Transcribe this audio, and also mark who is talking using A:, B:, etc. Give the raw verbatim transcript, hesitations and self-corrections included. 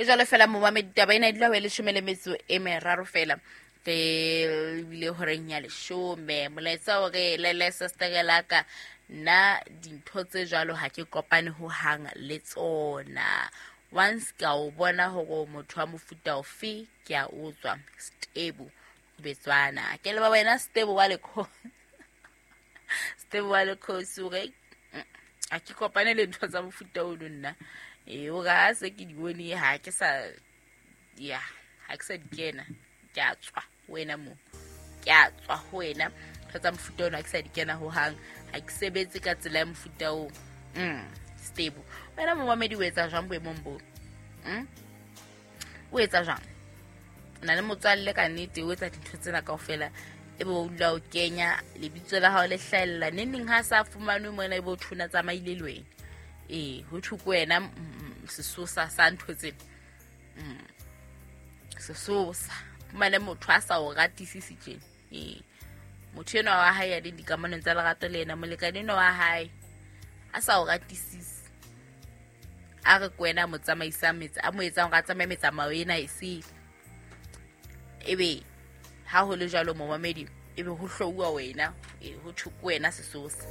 A: E jwalo fela momamedi, taba ena e dula ho e leshome le metso e meraro fela re ebile horeng ya leshome. Molaetsa o re lele sestere laka, nna dintho tse jwalo ha ke kopane ho hang le tsona. Once ka o bona hore motho wa mofuta ofe, ke a utswa. Stebo Betswana, ke leba wena Stebo wa lekho, Stebo wa lekhosi. O re ha ke kopane le ntho tsa mofuta ono nna. Ee, o re ha se ke di bone, ha ke sa ya, ha ke sa di kena, ke a tswa ho wena moo, ke a tswa ho wena. Ntho tsa mofuta ono ha ke sa di kena hohang, ha ke sebetse ka tsela ya mofuta oo. mm stable wena momamedi, o etsa jwang boemong boo? mm? O etsa jwang? O na le motswalle ka nnete o etsa dintho tsena kaofela, ebe o dula o kenya lebitso la hao le hlahella neng neng, ha sa fumanwe mona, ebe o thona tsamaile le wena. Ee, ho thwe ke wena mm, sesosa sa ntho tsena. mm. Sesosa fumane motho a sa o ratisise tjena. Ee, motho enwa wa hae ya leng dikamanong tsa lerato le yena, molekane enwa wa hae a sa o ratisise, a re ke wena a mo tsamaisang metse, a mo etsang hore a tsamaye metsamao ena e sele. Ebe ha ho le jwalo momamedi, ebe ho hlouwa wena, e ho thwe ke wena sesosa.